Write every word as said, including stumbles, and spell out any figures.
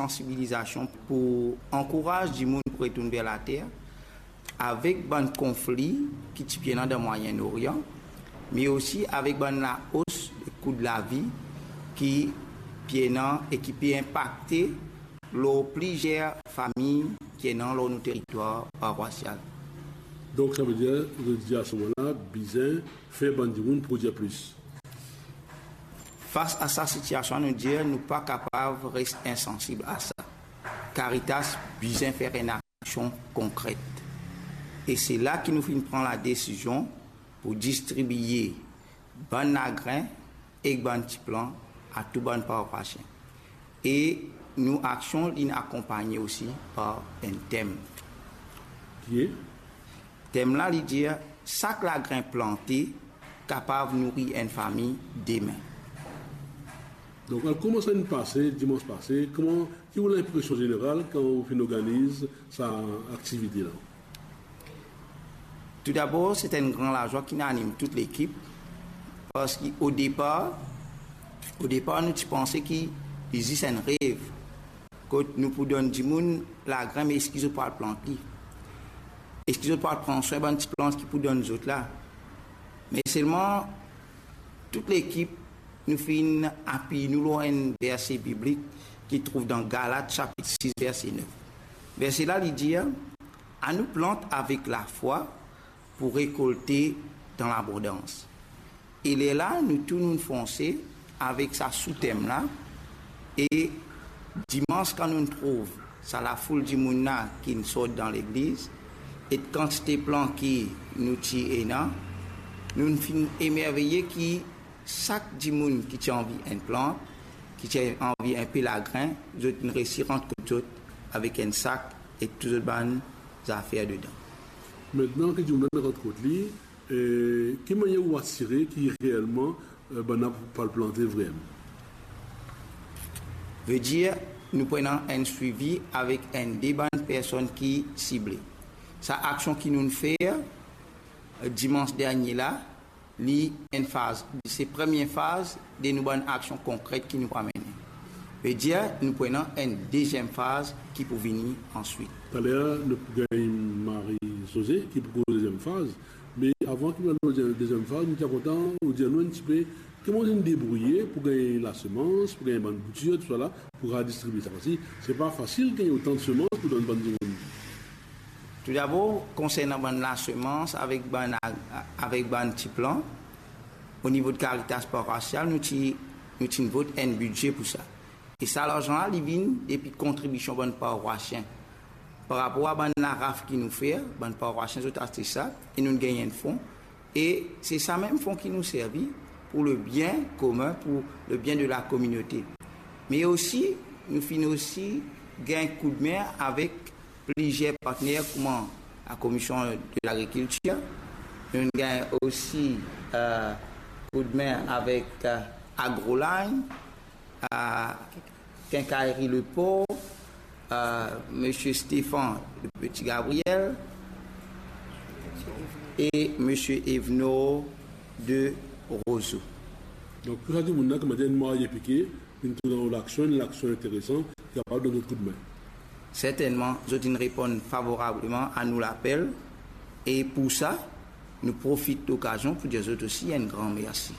sansibilizasion pou ankouraz dimoun pou retourn ver later, avek bann konfli ki ti pe ena dan Mwayen Orian, me osi avek bann laos de kou de lavi ki pe ena e ki pe inpakte lor plizier fami ki ena lor nou teritwar parwasial. Donk, savedir, zot dir asemoman la, bizin fer bann dimoun prodwir plis. Fas a sa sitiasion, nou dir nou pa kapav res insansib a sa. Caritas bizin fer enn aksion konkret. E se la ki nou finn pran ladesizion pou distribie bann lagrin ek bann ti plan a tou bann parwasien. E nou aksion linn akonpagne osi par enn tem. Ki e? Tem la, li dir, sak lagrin plante kapav nouri enn fami demin. Donk, al kouma sa inn pase, dimans pase, kouma, ki ou linpresion zeneral kan ou finn organiz sa aktivite la? Toudabor, se enn gran lazwa ki anim tout lekip, parski o depar, o depar, nou ti panse ki li zis enn rev, kot nou pou donn dimoun lagrin, me eski zot pou al plant li? Eski zot pou al pran swin bann ti plant ki pou donn zot la? Me selman, tout lekip, nou finn apiy nou lor enn verse biblik ki trouv dan Galat sapit sis, verse nef. Verse la, li dir, "Anou plant avek lafwa pou rekolte dan labondans." E lerla, nou tou nou fonse avek sa sou-tem la, e dimans, kan nou trouv sa lafoul dimoun la ki sort dan legliz, e kantite plan ki nou ti ena, nou finn emerveye ki sak dimoun ki ti anvi enn plant, ki ti anvi enpe lagrin, zot inn resi rant kot zot avek enn sak ek tou zot bann zafer dedan. Aster ki dimoun la rant kot li, e ki manier ou asire ki reelman, e, bann la pou al plante vremem? Vedir, nou pou ena enn swivi avek enn de bann personn ki sible. Sa aksion ki nou fer, e, dimans dernie la, li enn faz, se premie faz de nou bann aksion konkret ki nou pou amene. Vedir, nou pou ena enn deziem faz ki pou vini answit. Taler, nou pou gagn Marie-Josée ki pou koz deziem faz. Me avan ki nou al lor deziem faz, nou ti kontan ou dir nou enn tipe kouma ou inn debrouye pou gagn lasemans, pou gagn bann boutir, tousala, pou redistribie sa. Parski se pa fasil gagn otan de semans pou donn bann dimoun. Toudabor, konsernan bann lasemans avek bann, avek bann ti plan, o nivo de Caritas parwasial, nou ti, nou ti vot enn bidze pou sa. E sa larzan la, li vinn depi kontribision bann parwasien. Par rapor a bann laraf ki nou fer, bann parwasien zot aste sa, e nou gagn enn fon. E se sa mem fon ki nou servi pou le bien komin, pou le bien de la kominote. Me osi, nou finn osi gagn koudme avek plizier partner, kouma la Komision de Lagrikiltir. Nou gagn osi, e, koudme avek, e, Agroline, e, Quincaillerie Le Port, e, Monsieur Stéphane de Petit Gabriel e Monsieur Evenor de Roseau. Donk, tou sa dimoun la, kouma dir, enn marye pike, vinn trouv dan laksion, enn laksion interesan, ki kapav donn zot koudme. Sertennman, zot inn reponn favorableman a nou lapel, e pou sa, nou profit lokazion pou dir zot osi enn gran mersi.